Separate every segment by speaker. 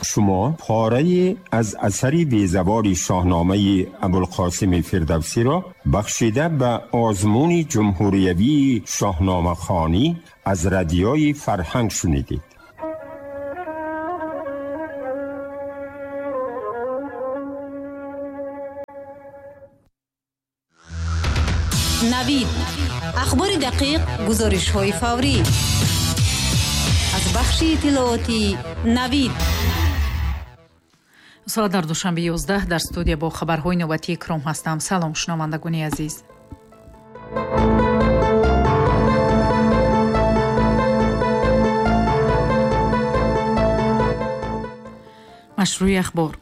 Speaker 1: Шумо پاره از اثری بیزوار شاهنامه ابوالقاسم فردوسی را بخشیده به آزمون جمهوریوی شاهنامه خوانی از رادیوی فرهنگ شنیدید.
Speaker 2: نوید، اخبار دقیق، گزارش های فوری از بخش اطلاعاتی نوید.
Speaker 3: Соат дар Душанбе 11, дар студия бо хабарҳои навбатии Икром ҳастам. Салом, шунавандагони азиз. Машрӯи ахбор.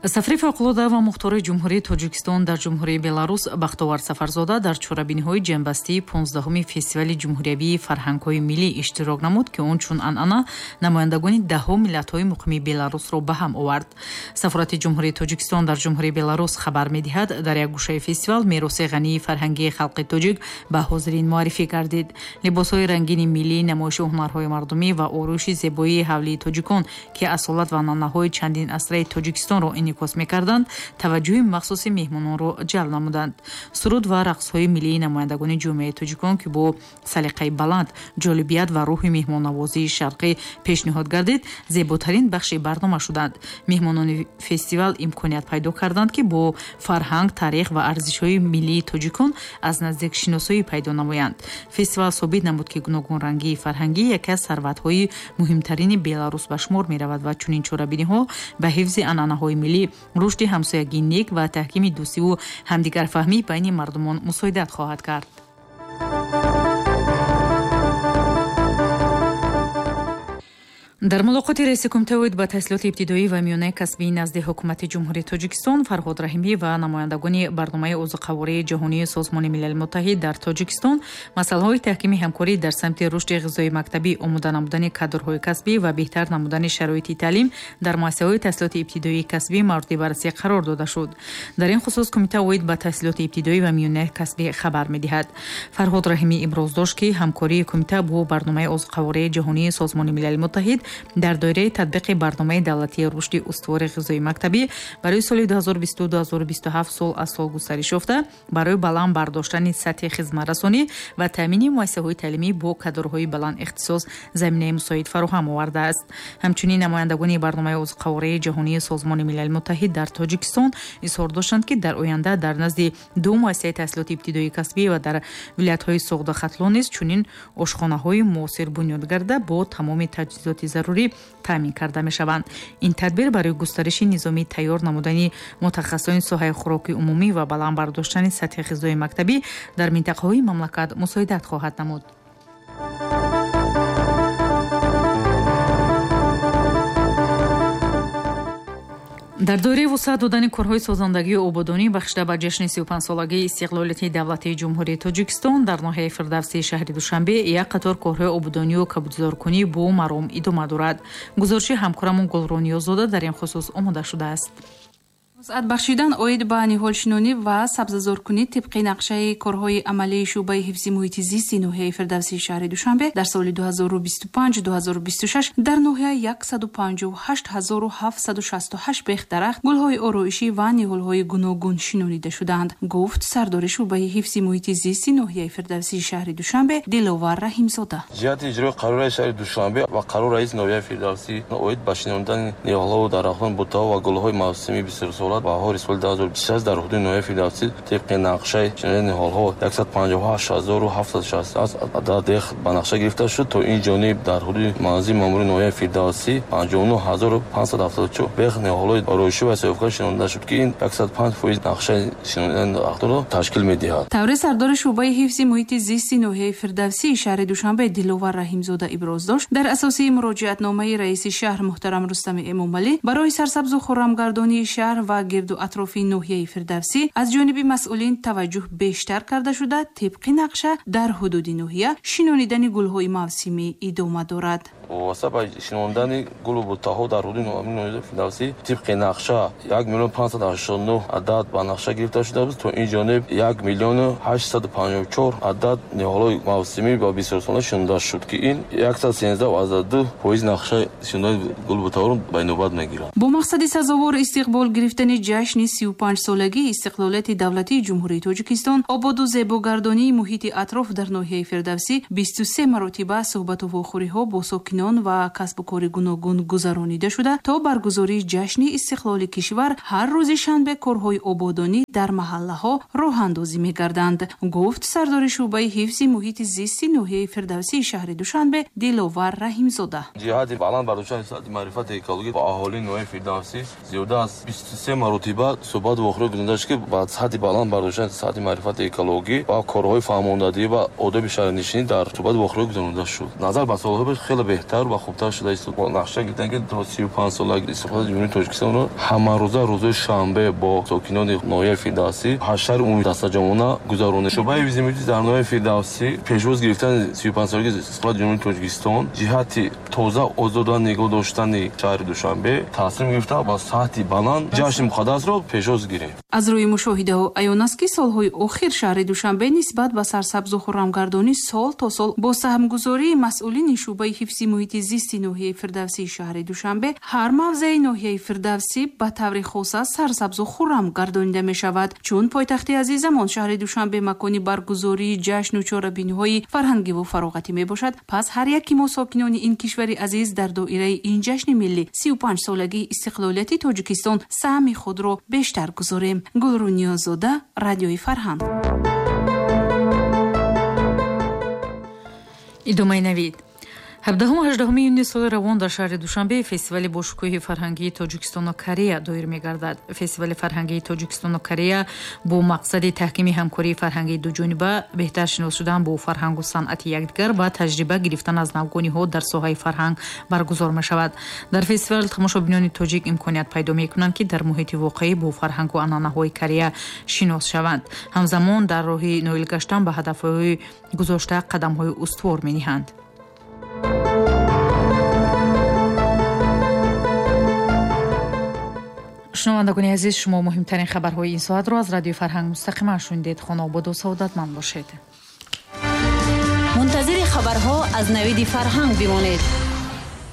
Speaker 3: Сафири фавқулода ва мухтори Ҷумҳурии Тоҷикистон дар Ҷумҳурии Беларус Бахтовар Сафарзода дар чорабиниҳои ҷамъбастии 15-уми фестивали ҷумҳуриявии фарҳангҳои миллӣ иштирок намуд, ки он чун анъана намояндагони даҳҳо миллатҳои муқими Беларусро ба ҳам овард. Сафорати Ҷумҳурии Тоҷикистон дар Ҷумҳурии Беларус хабар медиҳад, дар як гӯшаи фестивал мероси ғании фарҳангии халқи тоҷик ба ҳозирин муаррифӣ гардид. Либосҳои рангини миллӣ, намоиши ҳунарҳои мардумӣ ва ороиши зебоии ҳавлии тоҷикон, ки асолат ва анъанаҳои чандин асраи Тоҷикистонро инъикос мекарданд, таваҷҷӯҳи махсуси меҳмононро ҷалб намуданд. Суруд ва рақсҳои миллии намояндагони ҷомеаи тоҷикон, ки бо салиқаи баланд, ҷолибият ва рӯҳи меҳмоннавозии шарқӣ пешниҳод гардид, зеботарин бахши барнома шуданд. Меҳмонони фестивал имконият пайдо карданд, ки бо фарҳанг, таърих ва арзишҳои миллии тоҷикон аз наздик шиносоӣ пайдо намоянд. Фестивал собит намуд, ки гуногунрангии фарҳангӣ яке аз сарватҳои муҳимтарини Беларус ба шумор меравад ва чунин чорабиниҳо ба ҳифзи анъанаҳои миллӣ, рушди ҳамсоягии нек ва таҳкими дӯстиву ҳамдигарфаҳмӣ байни мардумон мусоидат хоҳад кард. Дар мулоқоти раиси кумитаи оид ба таҳсилоти ибтидоӣ ва миёнаи касбии назди ҳукумати Ҷумҳурии Тоҷикистон Фарҳод Раҳимӣ ва намояндагони барномаи озуқавории ҷаҳонии Созмони Милали Муттаҳид дар Тоҷикистон масъалаҳои таҳкими ҳамкорӣ дар самти рушди ғизои мактабӣ, омода намудани кадрҳои касбӣ ва беҳтар намудани шароити таълим дар муассисаҳои таҳсилоти ибтидоии касбӣ мавриди баррасӣ қарор дода шуд. Дар ин хусус кумита оид ба таҳсилоти ибтидоӣ ва миёнаи касбӣ хабар медиҳад. Фарҳод Раҳимӣ иброз дошт, ки ҳамкории кумита бо барномаи озуқавории ҷаҳонии Созмони Милали Муттаҳид дар доираи татбиқи барномаи давлатии рушди устувори ғизои мактабӣ барои соли 2022-2027 сол аз сол густариш ёфта, барои баланд бардоштани сатҳи хизматрасонӣ ва таъмини муассисаҳои таълимӣ бо кадрҳои баланд ихтисос заминаи мусоид фароҳам овардааст. Ҳамчунин намояндагони барномаи озуқавории ҷаҳонии Созмони Милали Муттаҳид дар Тоҷикистон изҳор доштанд, ки дар оянда дар назди ду муассисаи таҳсилоти ибтидоии касбӣ ва дар вилоятҳои Суғду Хатлон низ чунин ошхонаҳои муосир бунёд гарда бо тамоми таҷҳизоти зарурӣ таъмин карда мешаванд. Ин тадбир барои густариши низоми тайёр намудани мутахассисони соҳаи хӯроки умумӣ ва баланд бардоштани сатҳи ғизои мактабӣ дар минтақаҳои мамлакат мусоидат хоҳад намуд. Дар доираи вусъат додани корҳои созандагию ободонӣ бахшида ба ҷашни 35-солагии истиқлолияти давлатии Ҷумҳурии Тоҷикистон дар ноҳияи Фирдавсии шаҳри Душанбе як қатор корҳои ободонию кабудзоркунӣ бо маром идома дорад. Гузориши ҳамкорамон Гулрониёзода дар ин хусус омода шудааст.
Speaker 4: Вусъат бахшидан оид ба ниҳолшинонӣ ва сабзазоркунӣ тибқи нақшаи корҳои амалии шӯъбаи ҳифзи муҳити зисти ноҳияи Фирдавсии шаҳри Душанбе дар соли 2025-2026 дар ноҳия 158768 бех дарахт, гулҳои ороишӣ ва ниҳолҳои гуногун шинонида шудаанд, гуфт сардори шӯъбаи ҳифзи муҳити зисти ноҳияи Фирдавсии шаҳри Душанбе Диловар Раҳимзода.
Speaker 5: Ҷиҳати иҷрои қарори раиси шаҳри Душанбе ва қарори раиси ноҳияи Фирдавсӣ оид ба шинондани ниҳолҳову дарахтон, бутаҳо ва гулҳои мавсимии бисёрсола баҳори соли 2026 дар ҳудуди ноҳияи Фирдавсӣ тибқи нақшаи шинондани ниҳолҳо 158768 адад дех ба нақша гирифта шуд. То ин ҷониб дар ҳудуди манзили маъмурии ноҳияи Фирдавсӣ 59574 бех ниҳолҳои ороишӣ ва соҳибкор шинонда шуд, ки ин 105% нақшаи шинондани дарахтонро ташкил медиҳад.
Speaker 4: Таври сардори шӯъбаи ҳифзи муҳити зисти ноҳияи Фирдавсии шаҳри Душанбе Диловар Раҳимзода иброз дошт, дар асоси муроҷиатномаи раиси шаҳр муҳтарам Рустами Эмомалӣ барои сарсабзу хуррамгардонии шаҳр ва ва гирду атрофи ноҳияи Фирдавсӣ аз ҷониби масъулин таваҷҷӯҳ бештар карда шуда, тибқи нақша дар ҳудуди ноҳия шинонидани гулҳои мавсимӣ идома дорад.
Speaker 5: Вобаста ба шинондани гулу буттаҳо дар ҳудуди ноҳияи Фирдавсӣ тибқи нақша 1 589 адад ба нақша гирифта шуда буд. То ин ҷониб 1 854 адад ниҳолҳои мавсимӣ ва бисёрсола шинонда шуд, ки ин 113,2% нақшаи шинондани гулу буттаҳоро ба инобат мегирад.
Speaker 4: Бо мақсади сазовор истиқбол гирифтани ҷашни 35-солагии истиқлолияти давлатии Ҷумҳурии Тоҷикистон, ободу зебогардонии муҳити атроф дар ноҳияи Фирдавсӣ 23 маротиба суҳбату вохӯриҳо бо сокинон ва касбу кори гуногун гузаронида шуда, то баргузории ҷашни истиқлоли кишвар ҳар рӯзи шанбе корҳои ободонӣ дар маҳаллаҳо роҳандозӣ мегарданд, гуфт сардори шӯъбаи ҳифзи муҳити зисти ноҳияи Фирдавсии шаҳри Душанбе Диловар Раҳимзода.
Speaker 5: Ҷиҳати баланд бардоштани сатҳи маърифати экологӣ ба аҳолии ноҳияи Фирдавсӣ зиёда аз 23 маротиба суҳбату вохӯрӣ гузаронида шуд, ки ба сатҳи баланд бардоштани сатҳи маърифати экологӣ ва корҳои фаҳмондадиҳӣ ва одоби шаҳрнишинӣ дар суҳбату вохӯрӣ гузаронида шуд. Назар ба солҳои пеш хеле беҳтар ва хубтар шуда истод. Нақша гирифтан, ки то 35-солагии истиқлолияти Ҷумҳурии Тоҷикистонро ҳамарӯза рӯзои шанбе бо сокинони ноҳияи Фирдавсӣ ҳашари умумии дастаҷамъона гузаронем. Шӯъбаи ҳифзи муҳити дар ноҳияи Фирдавсӣ пешвоз гирифтани 35-солагии истиқлолияти Ҷумҳурии Тоҷикистон ҷиҳати тоза озода нигоҳ доштани шаҳри Душанбе тасмим гирифта ба сатҳи баланд ҷашни муқаддасро пешвоз гирем.
Speaker 4: Аз рӯи мушоҳидаҳо аён аст, ки солҳои охир шаҳри Душанбе нисбат ба сарсабзу хуррамгардонӣ сол то сол бо саҳмгузории масъулини шӯъбаи ҳифзи муҳити зисти ноҳияи Фирдавсии шаҳри Душанбе ҳар мавзеи ноҳияи Фирдавсӣ ба таври хоса сарсабзу хуррам гардонида мешавад. Чун пойтахти азизамон шаҳри Душанбе макони баргузории ҷашну чорабиниҳои фарҳангиву фароғатӣ мебошад, пас ҳар яки мо сокинони ин кишвари азиз дар доираи ин ҷашни миллӣ 35-солагии истиқлолияти Тоҷикистон саҳми худро бештар гузорем. Гулрӯ Ниёзода, Радиои Фарҳанг.
Speaker 3: Идомаи навид. 17-18 июни соли равон дар шаҳри Душанбе фестивали бошукӯҳи фарҳангии Тоҷикистону Корея доир мегардад. Фестивали фарҳангии Тоҷикистону Корея бо мақсади таҳкими ҳамкории фарҳангии дуҷониба, беҳтар шинос шудан бо фарҳангу санъати якдигар ва таҷриба гирифтан аз навгониҳо дар соҳаи фарҳанг баргузор мешавад. Дар фестивал тамошобинони тоҷик имконият пайдо мекунанд, ки дар муҳити воқеӣ бо фарҳангу анъанаҳои Корея шинос шаванд. Ҳамзамон дар роҳи ноил гаштан ба ҳадафҳои гузошта қадамҳои устувор мениҳанд. Шунавандагони азиз, шумо муҳимтарин хабарҳои ин соатро аз Радиои Фарҳанг мустақиман шунидед. Хонаободу саодатманд бошед.
Speaker 2: Мунтазири хабарҳо аз Навиди Фарҳанг бимонед.